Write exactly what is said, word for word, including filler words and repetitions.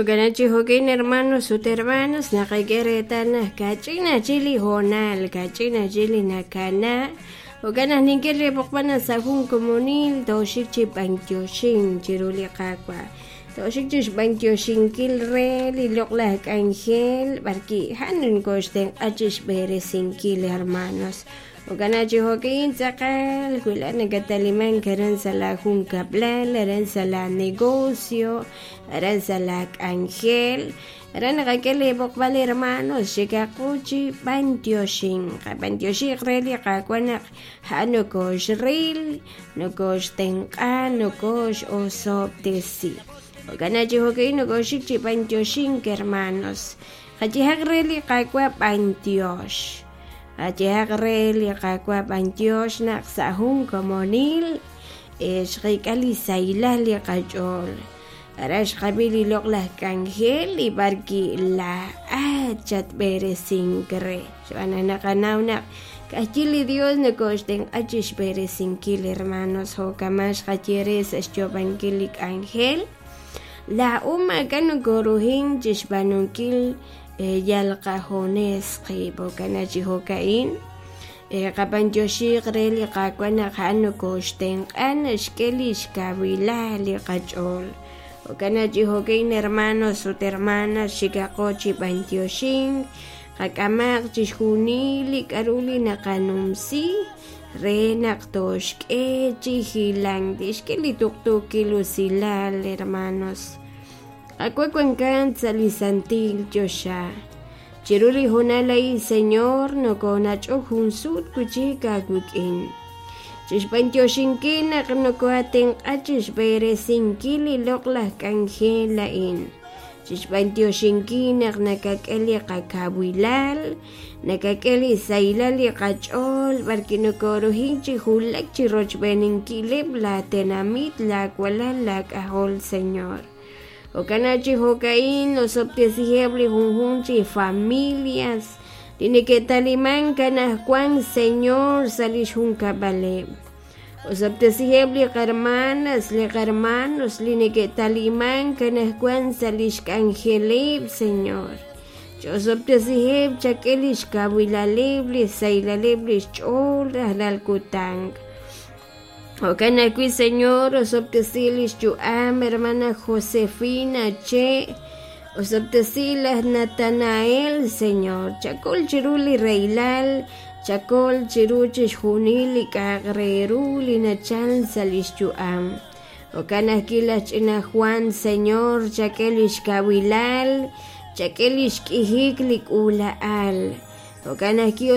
Jo'kan chi jo'kan hermanos ut hermanas naqak'e reetal naq kach'in ajchik li hoonal kach'in ajchik li nakana jo'kan naq nink'e riib'oqb'al naq sa' jun komonil tooxik chi b'antioxink chiru li Qaawa' tooxik chi xb'antioxinkil re li loq'laj k'anjel b'arki' han nkoxtenq'a chi xb'eresinkil hermanos jo'kan chi jo'kan tz'aqal wi laa'at nakatalimank aran sa' la junkab'lal aran sa' la negocio aran sa' la k'anjel aran naqak'e li b'oqb'al hermanos xikaqu chi b'antioxink qab'antioxiq re li Qaawa' naq a'an nokoxril nokoxtenq'a nokoxosob'tesi jo'kan chi jo'kan nokoxik chi b'antioxink hermanos qayehaq re li Qaawa' b'antiox qayehaq re li Qaawa' b'antiox naq sa' jun komonil xqik'a li sahilal li qach'ool aran xqab'i li loq'laj k'anjel li b'arki laa'at chatb'eresink re xb'aan naq naqanaw naq k'ajyi li Dios nokoxtenq'a chi xb'eresinkil hermanos jo'kaman xqaye re sa' xyoob'ankil li k'anjel laa'o maak'a' nokoruhin chi xb'aanunkil yal qajones qib' jo'kan chi jo'ka'in qab'antioxiq re li Qaawa' naq a'an nokoxtenq'a naxk'e li xkawilal li qach'ool jo'kan chi jo'kan hermanos ut hermanas xikaqo chi b'antioxink qak'amaq chixjunil li k'a'ru li naqanumsi re naq tooxk'e chi hilank tixk'e li tuqtuukil usilal hermanos Qaawa' wankan sa' li santil choxa chiru li hoonal a'in Señor nokonach'ok jun sut wi'chik aawik'in chixb'antioxinkil naq nokoatenq'a chixb'eresinkil li loq'laj k'anjel a'in chixb'antioxinkil naq nakak'e li qakawilal nakak'e li sahilal li qach'ool b'arki nokoruhin chi julak chi rochb'eninkileb' la tenamit la walal la k'ajol Señor jo'kan chi jo'ka'in osob'tesiheb' li junjunq chi familias li neke'talimank anajwan Señor sa' li xjunkab'aleb' osob'tesiheb' li qarmanas li qarmanos li neke'talimank anajwan sa' li xk'anjeleb' Señor ch'osob'tesiheb' chak'e li xkawilaleb' li sahilaleb' li xch'ool rajlal kutan jo'kan ajwi' Señor osob'tesi li xyu'am hermana Josefina Che osob'tesi laj Natanael Señor chakol chiru li reylal chakol chiru chixjunil li k'a'aq re ru li nachal sa' li xyu'am jo'kan ajwi' laj ch'ina Juan Señor chak'e li xkawilal chak'e li xk'ijik li k'uula'al jo'kan ajwi'